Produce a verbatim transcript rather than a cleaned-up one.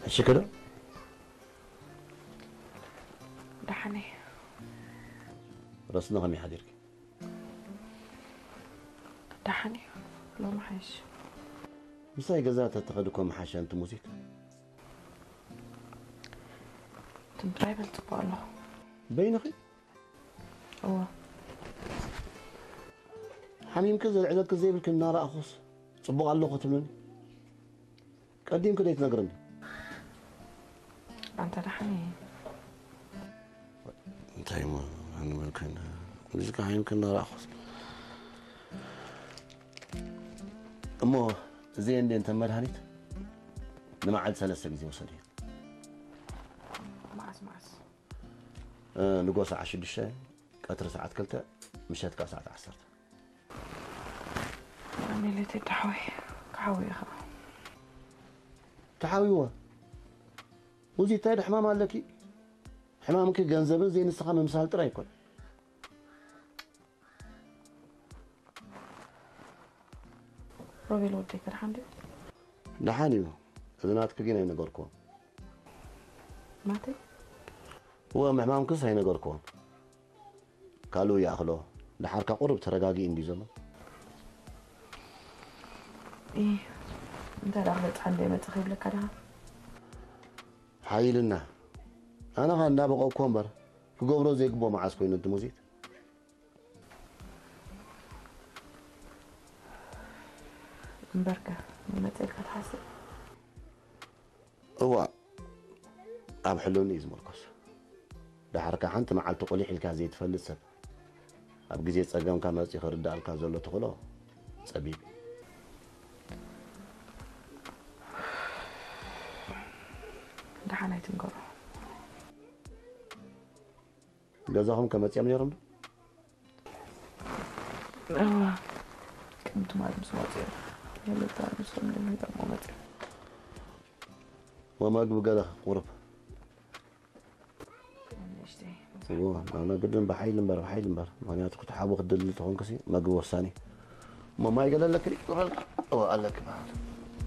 ሕሽኪ ዶ? ደሓን እየ። ረስነ ከመይ ሓዲርኪ? ደሓን እየ። ሎሚ ሓይሽ። ምሳይ ገዛ ተትኸዲ እኮ መሓሸ እንቲ ሙዚክ። ትም ጥራይ በል ጽቡቕ ኣለኹ። በይንኺ? እወ። ሓሚምኪ ዘልዕለኪ ዘይብልኪ እናረኣኹስ ጽቡቕ ኣለኹ ትብልኒ? ቀዲምኪ ደይትነግርኒ? ኣንተ ደሓን እየ። እንታይ እሞ፣ ኣነ መልክን፣ እዚ ከ ሓሚምኪ እናረኣኹስ። እሞ፣ እዚ እንዴ እንተ መድሃኒት ንመዓልቲ ሰለስተ ግዜ ውሰድዮ። መዓስ መዓስ? እ፣ ንጎ ሰዓት ሽዱሽተ፣ ቀትሪ ሰዓት ክልተ፣ ምሸት ከኣ ሰዓት ዐሰርተ። ኣሜሌቴ ተሓዊ፣ ክሓዊ ኢኻ። ተሓዊወ። ውዚ እንታይ ሕማም ኣለኪ? ሕማምኪ ገንዘብን ዘይንስኻ ምምሳል ጥራይ ኣይኮን። ሮቤል ወደይ ከ ደሓን ድዩ? ደሓን እዩ። እዚ ናትኪ ግን ኣይነገርክዎም። ማለተይ? እወ፣ ምሕማምክስ ኣይነገርክዎም። ካልኡ ይኣኽሎ። ደሓርካ ቁሩብ ተረጋጊ እንዲ ዘሎ። ኢ፣ እንታይ ደኣ ክበጽሓ እንደ መጽእ ከይብለካ ደኻ? ሓይልና። ኣነ ኸ እንዳበቐኩ እምበር፣ ክገብሮ ዘይግብኦ መዓስ ኮይኑ እንቲ ሙዚት? እምበርከ፣ ንመጽእ ኢልካ ትሓስብ? እዋእ፣ ኣብ ሕልኑ እዩ ዝምርኮስ። ደሓርካ ሓንቲ መዓልቲ ቁሊሕ ኢልካ ዘይትፈልጥ ሰብ፣ ኣብ ግዜ ጸገምካ መጺኡ ክርድኣልካ ዘሎ ተኽእሎ ጸቢብ እዩ። ደሓን ኣይትንገሮ። ገዛኹም ከ መጺኦም ነይሮም ዶ? እዋ፣ ቅድም ትማል ምስ መጹ እዮም። የለታ ምስሎም ደሚሮም መጹ። ወመግቢ ገለ ቁሩብ። ንእሽተይ። እዎ፣ ናና ግድን ብሓይል እምበር፣ ብሓይል እምበር። ምኽንያቱ ክትሓቡ ክትደሊ ተኾንክሲ መግቢ ወሳኒ። እሞ ማይ ገለ ኣለኪ? እዎ፣ ኣለኪ በሃል።